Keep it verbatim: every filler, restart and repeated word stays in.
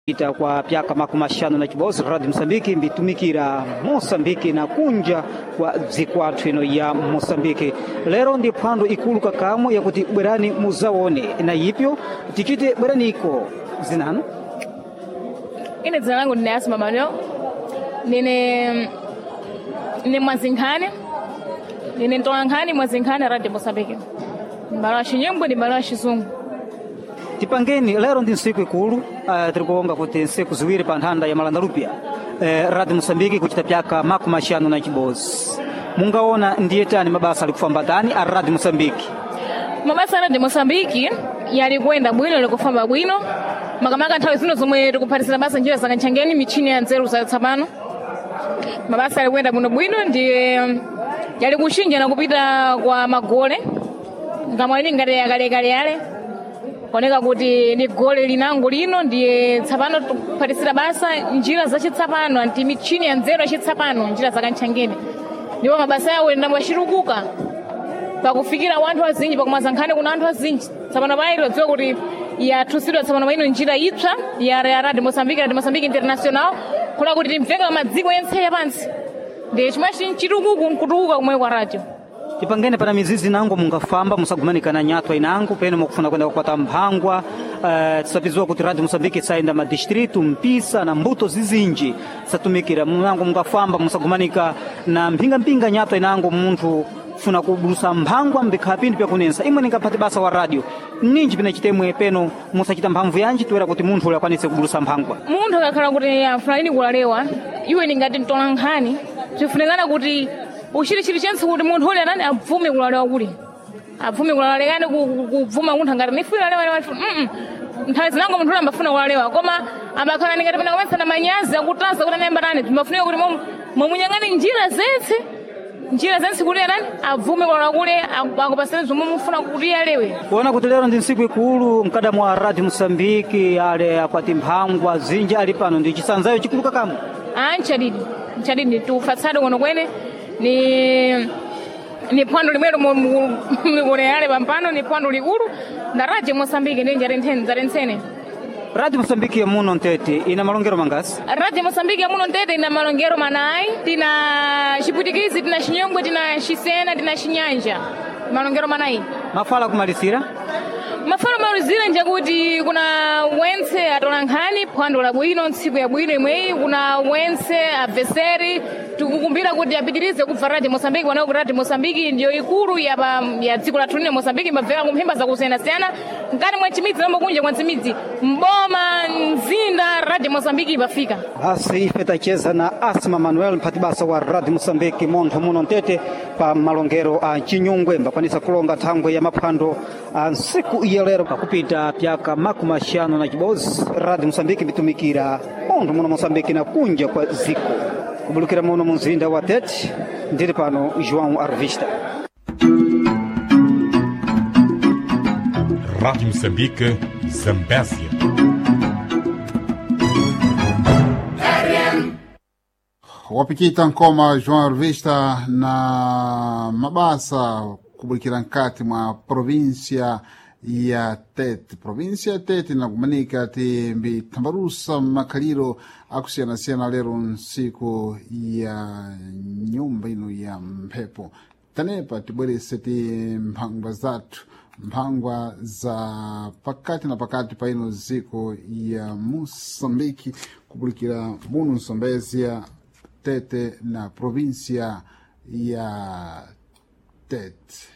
Ita kwa pyaka makumi axanu na chibodzi Radio Mosambiki mbitumikira Mosambiki na kunja kwa dzikwathu ino ya Mosambiki. Lero ndi phwando ikulu kakamwe yakuti bwerani muzaone na ipyo tichite bweraniko zinanu. Ine dzina langu ndine Asma Manuel, ndine ndine mwazinkhani, ndine mtolankhani mwazinkhani Radio Mosambiki, mbalo wa Xinyungwe ndi mbalo wa Xizungu. Tipangeni lero ndi ntsiku ikulu, uh, tiri kuonga kuti ntsiku ziwiri pa nthanda ya Malandalupia, eh, Radio Mosambiki kuchita pyaka makumi axanu na chibodzi. Mungaona ndiye tani mabasa ali kufamba tani a Radio Mosambiki? Mabasa a Radio Mosambiki yali kuyenda bwino, yali kufamba bwino, makamaka nthawi zino zomwe tikuphatisira basa njira zakantchangeni michini ya nzeru zatsopano. Mabasa ali kuyenda bwinobwino, ndiye yali kuchinja na kupita kwa magole ngamwalini ngati yakalekale yale kuoneka kuti ni gole linango lino, ndiye tsapano tikuphatisira basa njira zacitsapano anti michini ya nzeru yacitsapano njira zakantchangeni, ndipo mabasa yawo ndambo yacitukuka pakufikira wanthu azinji pakumaza nkhani kuna anthu azinji. Tsapano payi tidziwa kuti yathusidwa tsapano paino njira ipsa ya ya Radio Mosambiki, Radio Mosambiki International, kuna kuti timveka pa madziko entse yapansi, ndiye chimwe chitukuku nkutukuka kumwe kwa radio. Tipangene pana mizizi nango mungafamba musagumanikana nyatwa inango peno mukufuna kwenda kukwata mphangwa. Uh, tisapiziwa kuti Radio Mosambiki isayenda madistritu mpisa na mbuto zizinji satumikira munango mungafamba musagumanika na mphingamphinga nyatwa inango munthu funa kubulusa mphangwa mbikhala pinthu pyakunensa imwe ningaphati basa wa radio ninji pina chitemwe peno musachita mphamvu yanji toera kuti munthu ule akwanise kubulusa mphangwa. Munthu akakhala kuti afuna lini kulalewa, iwe ningati mtola nkhani bzifunikana kuti uchite chilichonse kuti munthu ule anani abvume kulalewa, kuli abvume kulalekani kubvuma munthu angati nifuna lalewa lewa mm nthawi zinango munthu ule ambafuna kulalewa, koma amakhala ningati pena kumetsana manyazi akutasa kuti anayamba tani, timafunika kuti mwamunyang'ane njira zentse njira zentse kuti anani abvume kulalewa kule akupaseni zomwe mufuna kuti alewe. Kuona kuti lero ndi ntsiku ikulu mkada mwa Radio Mosambiki ale akwati mphangwa zinji ali pano ndi chisanzayo chikulu kakamwe. Ah, nchadidi nchadidi tufatsade kuno kwene ni ni phwando limwero mukuoneyale pampano ni phwando likulu nda Radio Mosambiki ndi njarentsene. Radio Mosambiki ya muno ntete ina malongero mangasi? Radio Mosambiki ya muno ntete ina malongero manayi, tina Xipwitikizi, tina Xinyongwe, tina Xisena, tina Xinyanja, malongero manayi. Mafala kumalisira? Mafano malizira njakuti kuna wentse atola nkhani phwando labwino ntsiku yabwino imweyi, kuna wentse abveseri tikukumbira kuti apitirize kubva Radio Mosambiki pano kuti Radio Mosambiki ndiyo ikulu ya pa ya dziko lathu lino Mosambiki, imabveka kumphemba zakusiyanasiyana mkati mwa chimidzi nomwe kunja kwa chimidzi mboma mzinda Radio Mosambiki imafika. Basi ife tacheza na Asma Manuel mphati basa wa Radio Mosambiki montho muno ntete pa malongero a Chinyungwe mbakwanisa kulonga thangwe ya maphwando a ntsiku iya lero pakupita pyaka makumi axanu na chibodzi Radio Mosambiki mbitumikira montho muno Mosambiki na kunja kwa ziko kubulukira muno mumzinda wa Tete. Ndiri pano João Arvista. Rádio Moçambique, Zambésia. Wapikita nkoma João Arvista na mabasa kubulikira nkati mwa província ya Tete. Província ya Tete inakumanika ti mbithambalusa makhaliro akusiyanasiyana lero ntsiku ya nyumba ino ya mphepo. Tanepa tibwerese ti mphangwa zathu, mphangwa za pakati na pakati pa ino ziko ya Moçambique kubulikira muno Zambésia, Tete na província ya Tete.